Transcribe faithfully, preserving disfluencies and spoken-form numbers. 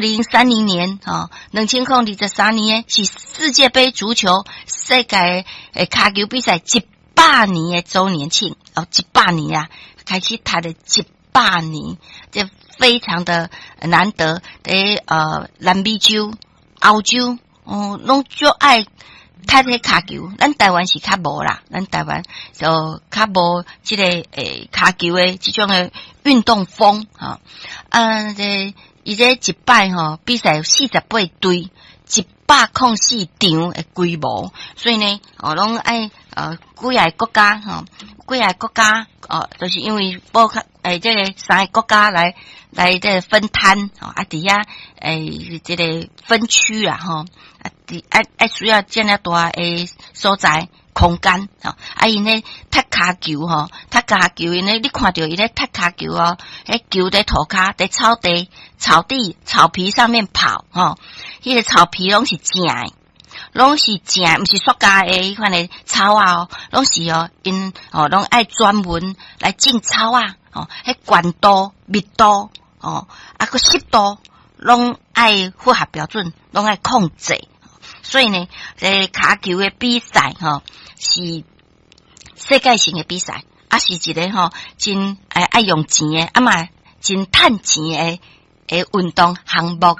零三零年吼，兩千零二十三年的是世界盃足球世界的跤球比賽一百年的週年慶哦，一百年啊，開始踢了一百年，這非常的難得。佇呃南美洲、歐洲哦，攏足愛踢彼跤球，咱台灣是較無啦，咱台灣就較無這个欸跤球的這種的運動風吼。啊，這伊這一擺吼比賽有四十八隊，一百空四場的規模，所以呢，哦，攏愛呃幾个國家吼，幾个國家哦，就是因為包括欸這个三个國家來來這个分攤吼，啊，佇遐欸這个分區啦吼，啊，佇愛愛需要遮爾大的所在空間吼，啊，𪜶咧踢跤球吼，踢跤球𪜶咧，你看著𪜶咧踢跤球哦，彼球佇塗跤佇草地、草地、草皮上面跑吼，彼个草皮攏是正的，攏是正，毋是塑膠的彼款的草仔哦，攏是哦，𪜶哦攏愛專門來種草仔吼，彼懸度、密度哦，啊閣濕度攏愛符合標準，攏愛控制。所以呢，這个跤球的比賽吼是世界性的比賽，啊是一个吼真愛愛用錢的，啊嘛真趁錢的的運動項目。